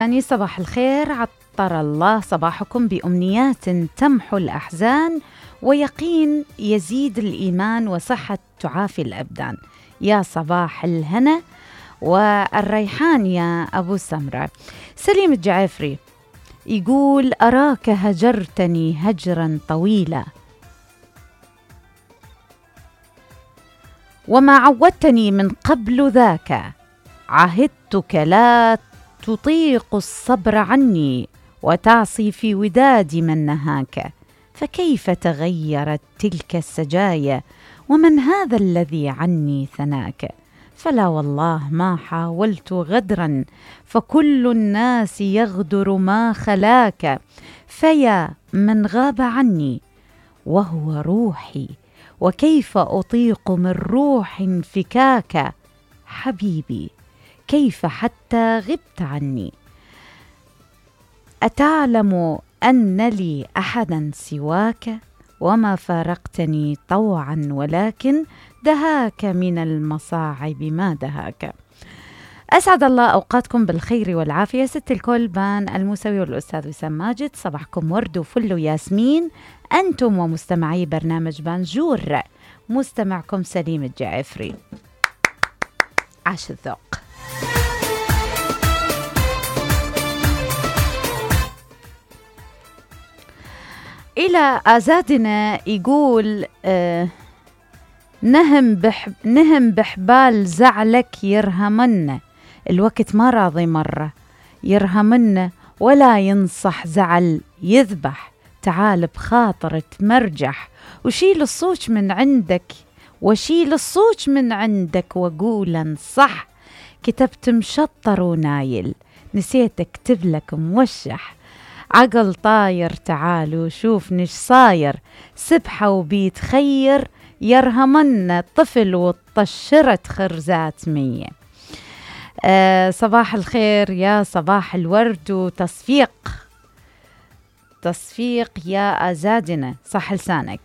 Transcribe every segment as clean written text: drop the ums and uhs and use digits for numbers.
يعني صباح الخير، عطر الله صباحكم بأمنيات تمحو الأحزان ويقين يزيد الإيمان وصحة تعافي الأبدان. يا صباح الهنا والريحان يا أبو سمرة. سليم الجعفري يقول: أراك هجرتني هجرا طويلا وما عودتني من قبل ذاك، عهدتك لا تطيق الصبر عني وتعصي في وداد من نهاك، فكيف تغيرت تلك السجايا ومن هذا الذي عني ثناك؟ فلا والله ما حاولت غدرا فكل الناس يغدر ما خلاك، فيا من غاب عني وهو روحي وكيف أطيق من روح انفكاك، حبيبي كيف حتى غبت عني؟ أتعلم أن لي أحدا سواك وما فارقتني طوعا ولكن دهاك من المصاعب ما دهاك. أسعد الله أوقاتكم بالخير والعافية. ست الكل بان الموسوي والأستاذ وسام ماجد، صباحكم ورد وفل وياسمين أنتم ومستمعي برنامج بانجور. مستمعكم سليم الجعفري. عاش الذوق. إلى أزادنا يقول: نهم بحبال زعلك يرهمن، الوقت ما راضي مرة يرهمن ولا ينصح زعل يذبح، تعال بخاطر تمرجح وشيل الصوت من عندك وقول انصح، كتبت مشطر ونايل نسيت اكتب لك موشح، عقل طاير تعال وشوف نش صاير، سبحة وبيتخير يرهمن طفل وطشرت خرزات 100. صباح الخير يا صباح الورد وتصفيق يا أزادنا، صح لسانك.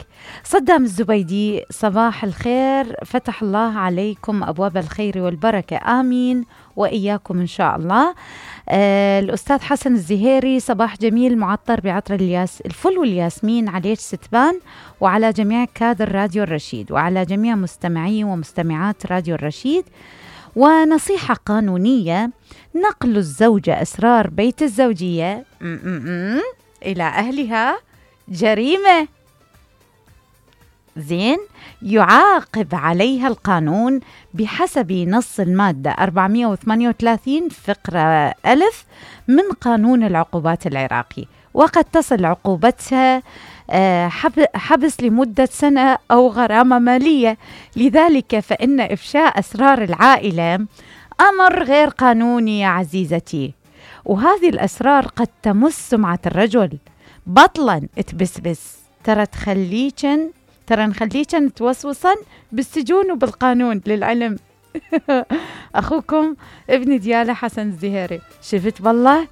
صدام الزبيدي: صباح الخير، فتح الله عليكم أبواب الخير والبركة، آمين وإياكم إن شاء الله. الأستاذ حسن الزهيري: صباح جميل معطر بعطر الفل والياسمين عليك ستبان وعلى جميع كادر راديو الرشيد وعلى جميع مستمعي ومستمعات راديو الرشيد. ونصيحة قانونية: نقل الزوجة أسرار بيت الزوجية إلى أهلها جريمة، زين، يعاقب عليها القانون بحسب نص المادة 438 فقرة ألف من قانون العقوبات العراقي، وقد تصل عقوبتها حبس لمدة سنة أو غرامة مالية. لذلك فإن إفشاء أسرار العائلة أمر غير قانوني يا عزيزتي، وهذه الأسرار قد تمس سمعة الرجل، بطلا تبسبس، ترى نخليكن توسوسا بالسجون وبالقانون للعلم. أخوكم ابن ديالة حسن الزهيري. شفت بالله